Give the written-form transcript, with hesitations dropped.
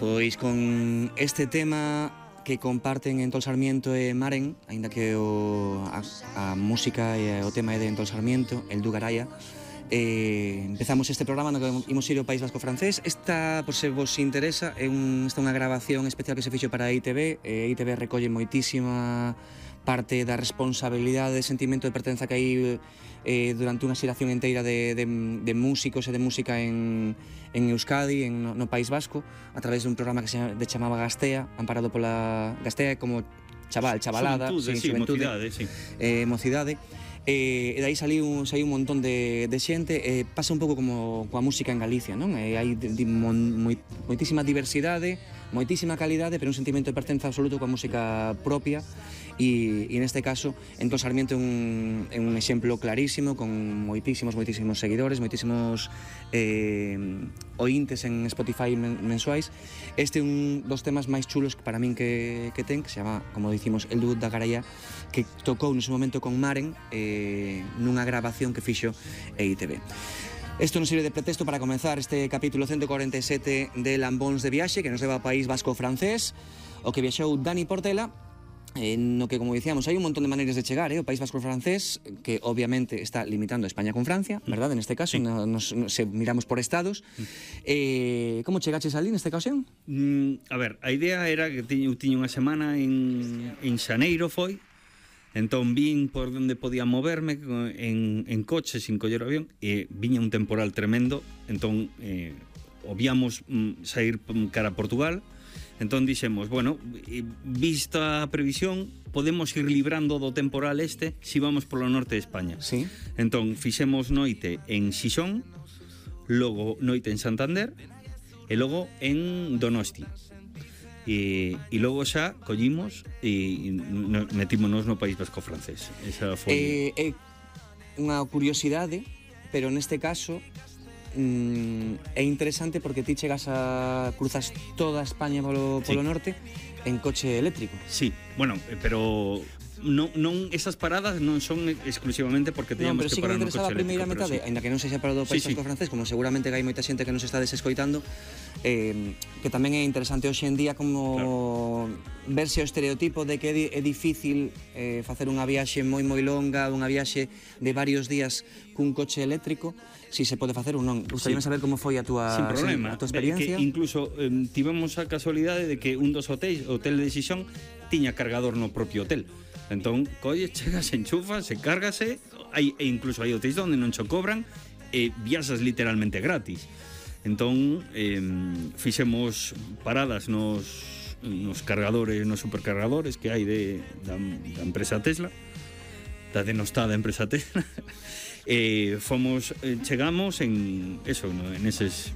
Pois con este tema que comparten Entol Sarmiento e Maren, aínda que a música e o tema é de Entol Sarmiento, el Dugaraya, empezamos este programa no que imos ir ao País Vasco francés. Esta, por se vos interesa, esta é unha grabación especial que se fixo para ITV. ITV recolle moitísima parte da responsabilidade, de sentimento de pertenza que hai durante unha xeración inteira de músicos e de música en Euskadi, no País Vasco, a través dun programa que se chamaba Gastea, amparado pola Gastea como chavalada, xuventude, mocidade. E dai saiu un montón de xente. Pasa un pouco como coa música en Galicia, non? Hai moitísima diversidade, moitísima calidade, pero un sentimento de pertenza absoluto coa música propia. E neste caso, Entol Sarmiento é un exemplo clarísimo, con moitísimos seguidores, moitísimos ointes en Spotify mensuais. Este é un dos temas máis chulos para min que ten, que se chama, como dicimos, El Dugaraya, que tocou nese momento con Maren nunha grabación que fixo ITV. Isto nos sirve de pretexto para comenzar este capítulo 147 de Lambóns de Viaxe, que nos leva ao País Vasco francés, o que viaxou Dani Portela, no que, como dicíamos, hai un montón de maneiras de chegar, o País Vasco francés, que obviamente está limitando España con Francia, verdade, neste caso, se miramos por estados. Como chegaches ali nesta ocasión? A ver, a idea era que tiña unha semana en Xaneiro, foi. Entón vin por onde podía moverme en coche, sin coller o avión, e viña un temporal tremendo. Entón obviamos sair cara a Portugal. Entón dixemos, bueno, vista a previsión, podemos ir librando do temporal si vamos polo norte de España. Sí. Entón fixemos noite en Xixón, logo noite en Santander e logo en Donosti. E logo xa collimos e metímonos no País Vasco francés. Esa foi unha curiosidade, pero neste caso é interesante porque ti cruzas toda España polo norte en coche eléctrico. Sí, bueno, pero non esas paradas non son exclusivamente porque teníamos que parar no coche eléctrico. Pero sí que me interesaba a primeira metade, aínda que non sexa para o País Vasco francés, como seguramente que hai moita xente que nos está desescoitando, que tamén é interesante hoxe en día como verse o estereotipo de que é difícil facer unha viaxe moi longa, unha viaxe de varios días cun coche eléctrico, si se pode facer ou non. Gustaríame saber como foi a túa experiencia. Que incluso tivemos a casualidade de que un dos hotéis, o hotel de Xixón, tiña cargador no propio hotel. Entón, chegas, enchufas, se cárgase, e incluso hai hotéis onde non cho cobran e viaxas literalmente gratis. Entón, fixemos paradas nos cargadores, nos supercargadores que hai da empresa Tesla, da denostada empresa Tesla. Chegamos en eses